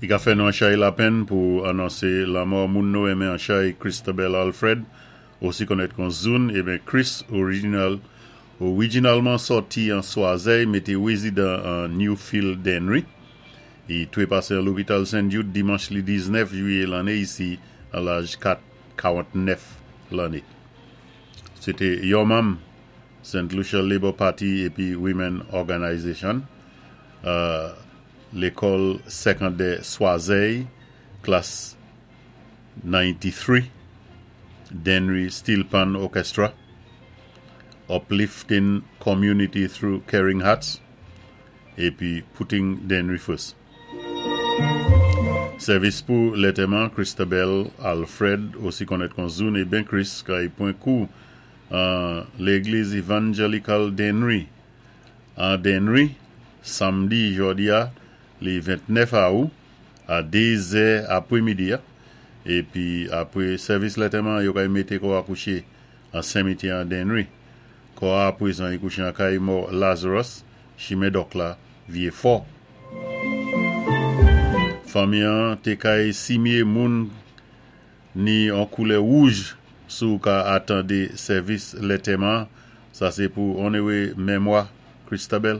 I ka fè nou an chay lapenn pou anonsé lanmò moun nou renmen an chay Christabel Alfred, osi konnèt kon Zoun, eben Chris original orijinalman sòti an Swazèy mété rézidan an Newfield Dennery. I twépasé an lopital St. Jude dimanch li 19 jwiyé lanné isi an laj 4 49 lanné. Sé té yon manm St. Lucia Labour Party épi Women Organization, Lékòl Sékondè Swazèy, klas 93, Dennery Steel Pan Orchestra, Uplifting Community Through Caring Hearts, épi Putting Dennery First. Sèvis pou lantèman Christabel Alfred, osi konnèt kon Zoun eben Chris, kay pwan kou an Légliz Evangelical Dennery an Dennery, samdi jòdi-a li 29 awou a 2 zè apwémidi-a, épi apwé sèvis lantèman yo kay mété kò-a kouché an sémityè an Dennery. Kò-a apwézan i kouché an kay mò Lazarus, chimen Dòk la, Vyé Fò. Fanmi-an té kay simyé moun ni an koulè wouj si w ka atandé sèvis lantèman, sa sé pou onéré mémwa Christabel.